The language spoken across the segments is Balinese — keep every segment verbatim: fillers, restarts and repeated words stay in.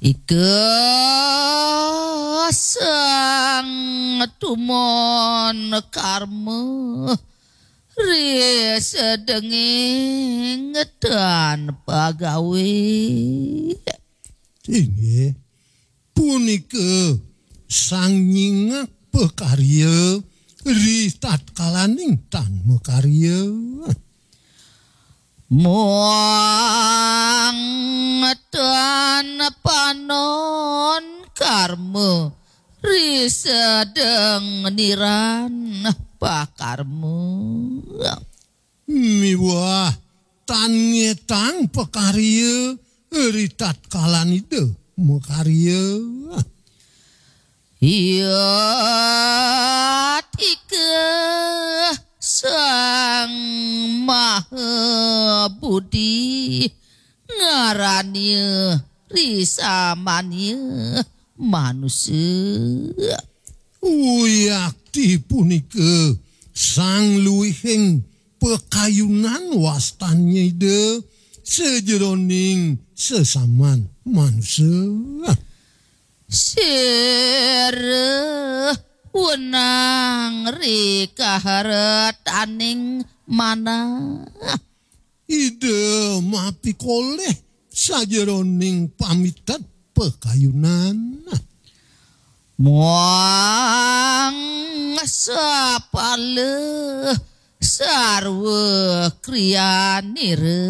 Ika sang tumon karma ri sedenging tan pagawe. Inggih, punika sang nyingak pakarya ri tatkalaning tan makarya. Muang tan panon karma ri sedeng niran pakarma. Miwah tan ngetang pakarya ri tatkalan Ida makarya. Iya tika sang maha budi ngarania ri samania manusa. Uyakti punika sang luihing pakayunan wastannya Ida sajeroning sesaman manusa. Sira wenang ri kaharetaning manah. Ida mapikolih sajeroning pamitet pakayunan. Muang sapala sarwa kriyanira.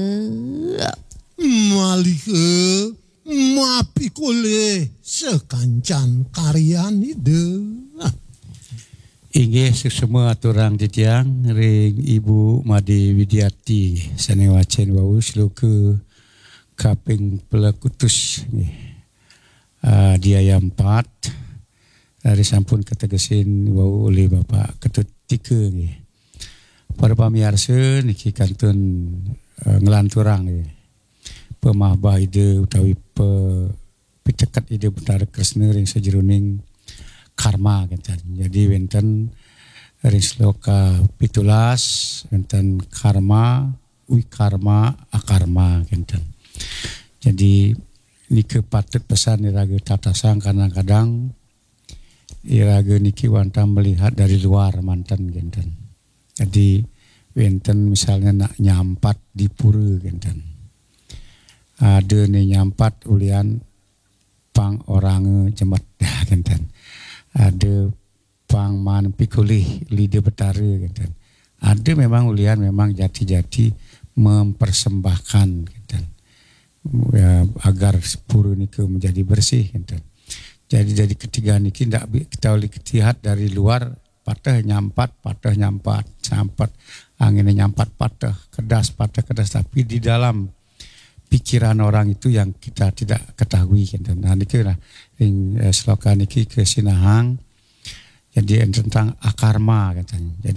Maliha mapikolih sakancan karyan Ida. Inggih, suksma aturang titiang ring Ibu Made Widiati sane wacen wau sloka kaping pelekutus, nggih. Ah, di ayat empat, dari sampun kategesin wau oleh Bapak Ketut Tika, nggih. Para pamiarsa, niki kantun, eh, nglanturang, nggih, pamahbah Ida utawi pe-, piteket Ida Betara Kresna ring sajeroning karma, kenten. Jadi, wenten ring sloka pitulas, wenten karma, wikarma, akarma, kenten. Jadi, nika patut pesan iraga tatasang, kadang-kadang iraga niki wantah melihat dari luar manten, kenten. Jadi, wenten misalnya nak nyampat di pura, kenten. Ada ne nyampat ulian pang oranga jemet, kenten. Ada pang maan pikolih Ida Betara, kenten. Ada memang ulian memang jati-jati mempersembahkan, kenten. Ya, agar pura nika menjadi bersih, kenten. Jadi, dari ketiga niki ndak bi-, kita boleh lihat dari luar, pateh nyampat, pateh nyampat, nyampat, angin nyampat pateh, kedas pateh kedas, tapi di dalam pikiran orang itu yang kita tidak ketahui, kenten. Nah, niki lah ring, eh, sloka niki kasinahang. Jadi, tentang akarma, kenten. Jadi,